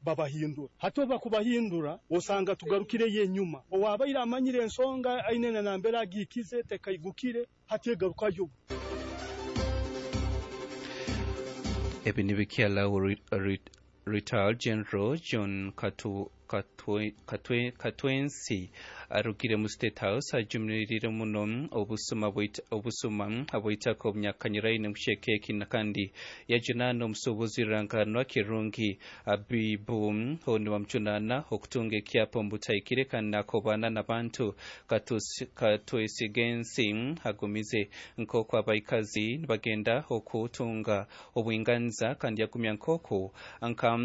Babahindura. Hati obu bakubahindura, osanga tugarukireyo enyuma. Owaabaire amanyire ensonga aine na nambere agiikize tekaigukire, hati egarukayo. Ebi nibikyala Retired General John Katwensi arugire mu State House ajumirire muno obusuma obusuma abw'eitaka obunyakanyiraine omu kicweka eki na kandi yajunaana omusuubuzi ruranganwa Kirungi Abibu onu nibamujunaana okutunga ekyapa omu butahikire kandi nakobaana n'abantu. Katwesigensi agumize nk'oku abaikazi nibagenda okutunga obwinganiza kandi yagumya nk'oku nka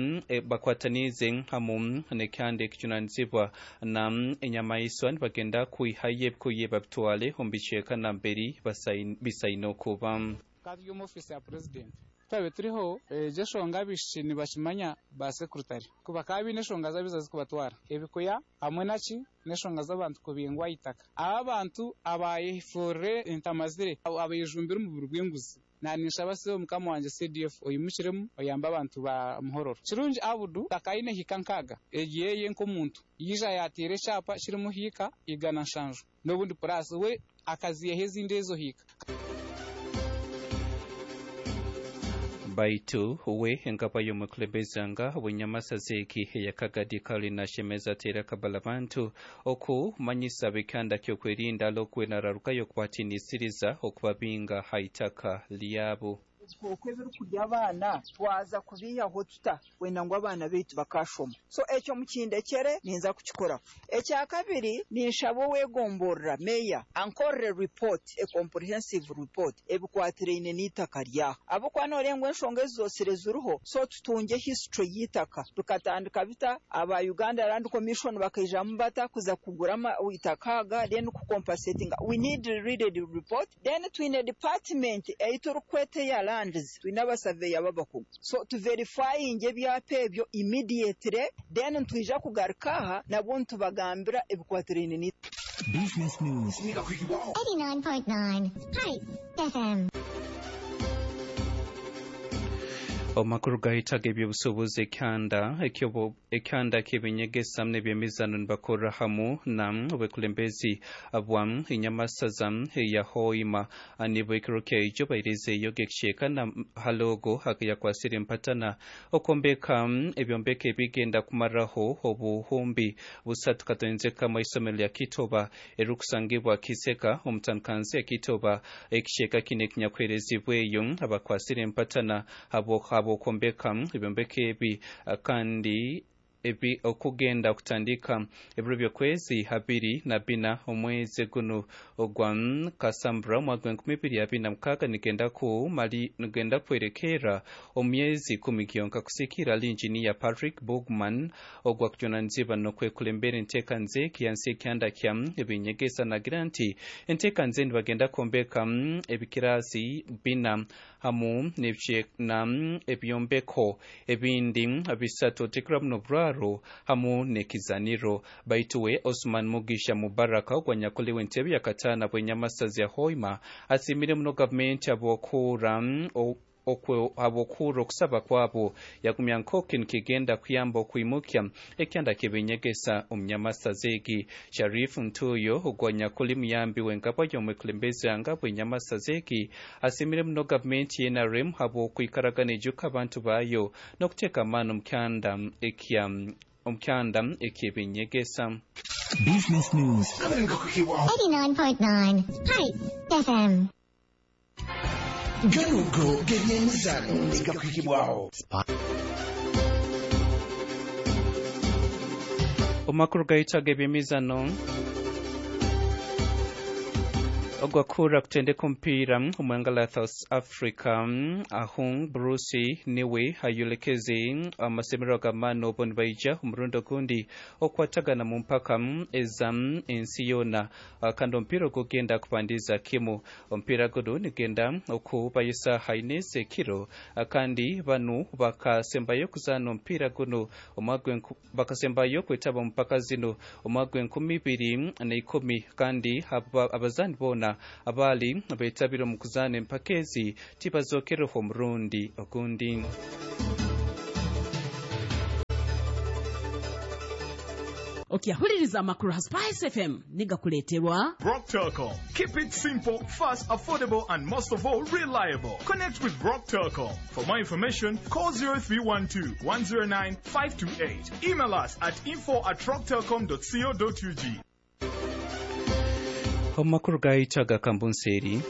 bakwataniize hamu n'ekyanda ekijunanizibwa na enyamaiswa nibagenda kwihayo ebikuye babitwale omu bicweka namberi bisaine okuba. Tukaba turi omu ofiisi ya purezidenti. Ku twabaire turiho, egyo enshonga abaishiki nibakimanya ba sekurutare ku bakaba baine enshonga zaabo ezi barikubatwara. Ebikuya hamwe na ki? N'enshonga z'abantu kubingwa aha itaka. Aba abantu abayefuurire entamazire, abejumbire omu buri bw'enguzi. Na ninshaba sebo mukama wangye CDF oyimukiremu oyambe abantu ba Muhororo. Kirungi Abudu takaine hiika nkaaga egi yeye nk'omuntu yaija yateera ekyapa kirimu hiika 170 n'obundi purasi we akaziihaho ezindi ezo hiika. Baitu we engaba y'omukulembezanga w'enyamasaza egi eya Kagadi Caroline Nashemeza ateire akabala abantu okumanyisa ab'ekyanda ky'okwerinda Alokwe nararukayo okubatinisiriza okubabinga aha itaka ryabo. Ebikooko ebirikurya abaana twaza kubiihaho tuta kwenda ngu abaana baitu bakaashoma? So ekyo mukindekyere ninza kukikoraho. Ekyakabiri ninshaba ow'egomborora, Meeya, ankorere report, a comprehensive report ebikwatiraine n'eitaka ryaha. Ahabw'okuba nooreeba ngu enshonga ezi zoosire ziriho so tutungye history y'eitaka. Bikatandika bita? Aba Uganda Land Commission bakaijamu bata kuza kugura eitaka aga then ku compensatinga? We need really the report. Then twine department ei turikweta eya lands, twine abasaveya b'abakugu so tu verifyinge ebyapa ebyo immediately then nitwija kugaruka aha nabwo nitubagambira ebikwatiraine n'eitaka. Business News. 89.9 Spice FM. Omu makuru gaitu ag'eby'obusuubuzi ekyanda Ekyanda ky'ebinyegesa n'eby'emizaano nibakorera hamu na obukulembezi bwa enyamasaza eya Hoima nibwo ekiro kyaijo bairizeyo ekicweka na halogo yakwasire empatana okwombeka ebyombeko ebigenda kumarraho obuhumbi busatu katoinze kamwe eisomero lya Kitoba erirukusangibwa Kiseka omu tankansi ya Kitoba. Ekicweka kinu ekinyakuherezibweyo abakwasire empatana habw'okwombeka ebyombeko ebi kandi ebi okugenda kutandika ebiro by'okwezi abiri na bina omwezi gunu ogwa Kasambura omwaka gw'enkumi ibiri abiri na mukaaga nigenda kumali nigenda kwerekerra omu myezi ikumi gyonka kusikiira ali Engineer Patrick Bugman ogwa kujunanizibwa n'okwekulembera enteekaniza egi yansi ekyanda kya ebinyegesa nagira nti enteekaniza nibagenda kwombeka ebikiraasi bina hamu na ebyombeko ebindi bisatu otekeramu n'oburaro hamu n'ekizaniro. Baitu we Osman Mugisha Mubaraka ogwa nyakuliwe entebe ya kataana bw'enyamasaza ya Hoima asiimire muno gavumenti habw'okuhurra okusaba kwabo yagumya nk'oku nikigenda kuyamba okwimukya ekyanda ky'ebinyegesa omu nyamasaza egi. Sharif Ntuyo ogwa nyakuli muyambi w'engabwa y'omwekulembeze angabwa enyamasaza egi asiimire muno gavumenti ya NRM habw'okwikaraga neejuka abantu baayo n'okuteeka amaani omu kyanda eky'ebinyegesa. Business News. 89.9 Spice FM. Gano go g'ebyemizaano nigakuhikibwaho. Omu makuru gaitu ag'ebyemizano, ogwakura kutendeka omupiira omu ihanga la South Africa Ahung Bruce niwe ayolekeze amasemererwa g'amaani obwo nibaija omurundi ogundi okukwatagana mu mpaka eza ensi yoona kandi omupiira ogugenda kubandiza kimu omupiira gunu nigenda okuba esaaha ina ez'ekiro kandi banu bakasembayo kuzaana omupiira gunu bakasembayo kwetaba omu mpaka zinu omwaka gw'enkumi ibiri na ikumi kandi abazaani boona abaali betabire omu kuzaana empaka ezi tibazookereho omurundi ogundi. Okyahuliriza amakuru ha Spice FM nigakuleeterwa Rock Telcom. Keep it simple, fast, affordable, and most of all, reliable. Connect with Rock Telcom. For more information, call 0312 109 528. Email us at info@rocktelcom.co.ug. Omu makuru gaitu aga kambunseeri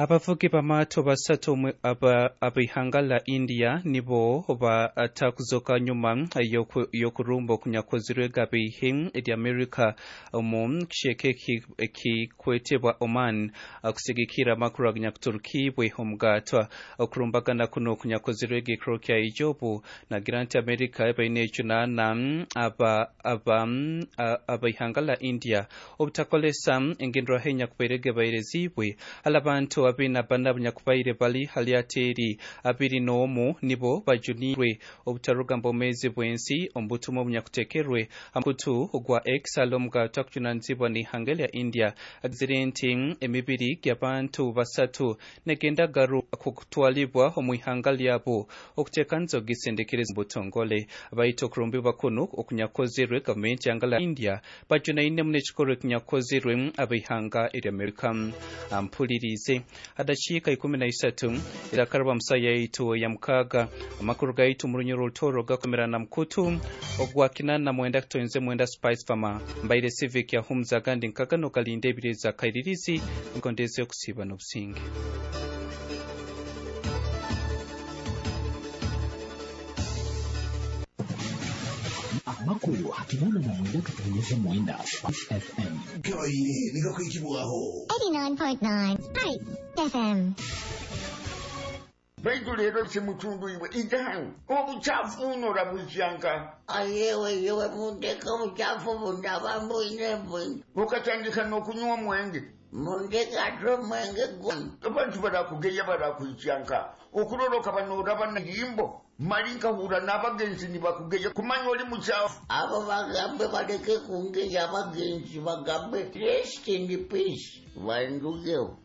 abavugi b'amaato basatu ab'ihanga la India nibo batakuzoka nyuma y'okurumba okunyakozirwe gabeihe erya America omu kisheke ekikwetebwa Oman, kusigikira amakuru aganyakuturukibwe omugatwa. Okurumbagana kuno okunyakozirwe ekiro kya ijobu nagira nti America ebaine ejunana ab'ihanga la India obutakolesa engenderaho enyakubaire bairezibwe hali abantu abina bana bunyakubaire bali hali ateri 21 nibo bajunirwe obutaruga mbomezi bwensi omubutumwa obunyakutekerwe amukutu gwa X ali omugato akujunanizibwa n'ihanga lya India agizire nti emibiri gy'abantu basatu negenda garu kutwalibwa omu ihanga lyabo okuteekaniza okugisendekereza butongole. Baitu okurumbibwa kuno okunyakozirwe gavumenti y'ihanga la India bajunaine muno ekikorwa ekinyakozirwe ab'ihanga erya Amerika. Ampulirize adakiika 13 irakaraba musaya yaitu ya mukaga. Amakuru gaitu mu runyoro rutoro gakomerana mukutu ogwa 89 kutonze mwenda Spice Farmer mbaire civic ya humza gandi nkagano kalinde ebireza kairirizi nkondeze okusiba n'obusinge. Amakuru 89 katonyeze mwenda Spice FM. Gabaire nigakwikibwaho. 89.9 Spice FM. Baitu leero simutundu iwe ija obukyafu buno olabuzyanka. Ayewe yewe mundeke obukyafu bunaba mbwine mbwine. Okatandika n'okunywa omwenge. Mundeke ate omwenge gwa. Abantu barakugeya barakwijyanka okuroroka bano oraba nayimbo mali nkahura n'abagenzi nibakugeya kumanya oli mukyafu. Abo bagambe baleke kungeya abagenzi bagambe rest in peace bandugeho.